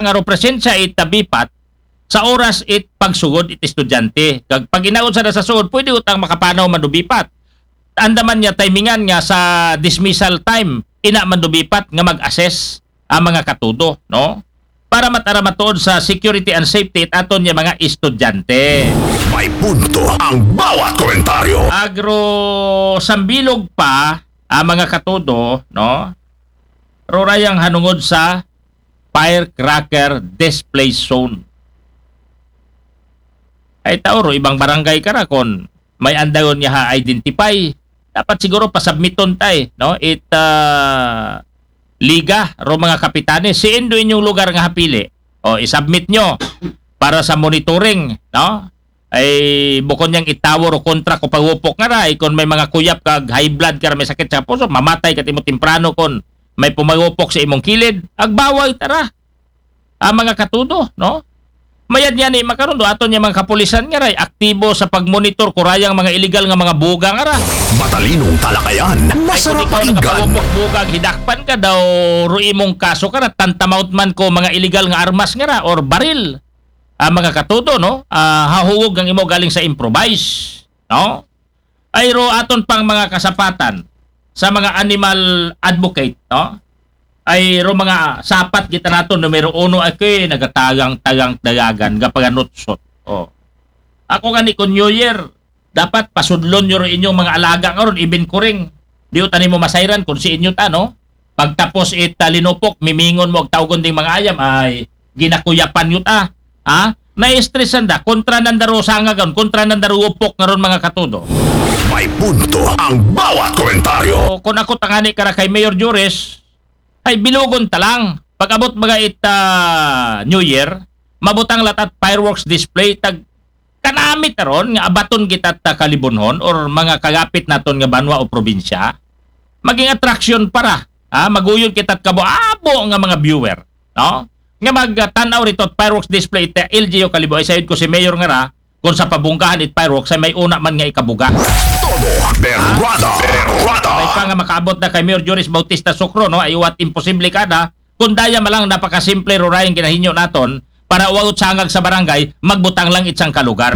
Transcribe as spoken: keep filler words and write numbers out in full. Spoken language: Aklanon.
nga ro presensya it BIPAT sa oras it pagsugod it estudyante. Kag pag inaon sa nasa sugod, pwede utang makapanaw man do BIPAT. Andaman niya timingan nga sa dismissal time, ina man do BIPAT nga mag-assess ang mga katudo, no? Para matara matuod sa security and safety it aton niya mga estudyante. May punto ang bawat komentaryo. Agro sambilog pa ang mga katudo, no? Rurayang hanungod sa firecracker display zone. Ay tao ro, ibang barangay ka ra kon may andayon niya ha identify. Dapat siguro pasubmiton tay, no? It ah, liga ro mga kapitanes. Siin do inyong lugar nga hapili? O, isubmit nyo para sa monitoring, no? Ay bukon niyang itawo ro kontra ko pagupok nga ra, ay kon may mga kuyap kag high blood ka ra, may sakit sa puso, mamatay ka timo temprano kon may pumagupok sa imong kilid, agbawaw tara. Ang mga katudo, no? Mayad niya ni makaron do aton niya mga kapulisan nga ray aktibo sa pagmonitor kurayang mga illegal nga mga buga nga ra. Matalinong talakayan, masarap Kung ikaw pakinggan. nakapagupok buga, hidakpan ka daw, ro imong kaso ka ra, tantamount man ko mga illegal nga armas nga ra or baril. Ang mga katudo, no? Ah, hahugog ang imo galing sa improvise, no? Ay ro aton pang mga kasapatan sa mga animal advocate, no? Ay ro mga sapat kita naton, numero uno ay kay nagatagang-tagang dagagan, gapaganutsot. Oh. Ako gani kon New Year, dapat pasudlon nyo ro inyong mga alaga nga ron, even kuring. Di utan mo masayran kung si inyo ta, no? Pagtapos it ah, linupok, mimingon mo ag tawgon ding mga ayam, ay ginakuyapan nyo ta. Ha? Na-stress anda, kontra nanda ro sangagon, kontra nanda ro upok nga ron mga katudo. May punto ang bawat komentaryo. O kung ako tangani ka ra kay Mayor Juris, ay bilugon ta lang. Pag-abot mga it ah, New Year, mabutang latat fireworks display, tag kanamit aron nga abaton kita ta kalibunhon or mga kagapit naton nga banwa o probinsya. Maging attraction para, ha? Maguyod kita kabo-abo nga mga viewer, no? Nga magtanaw rito at fireworks display ita L G U Kalibo, ay sayod ko si Mayor nga ra, kung sa pabungkahan it fireworks ay may una man nga ikabuga. Todo berwada. Berwada. May pa nga makaabot na kay Mayor Joris Bautista Sukro, no? Ay uwat imposible kada. Kung daya malang napakasimple rurayang ginahinyo naton para uwagot sangag sa barangay, magbutang lang itsang kalugar.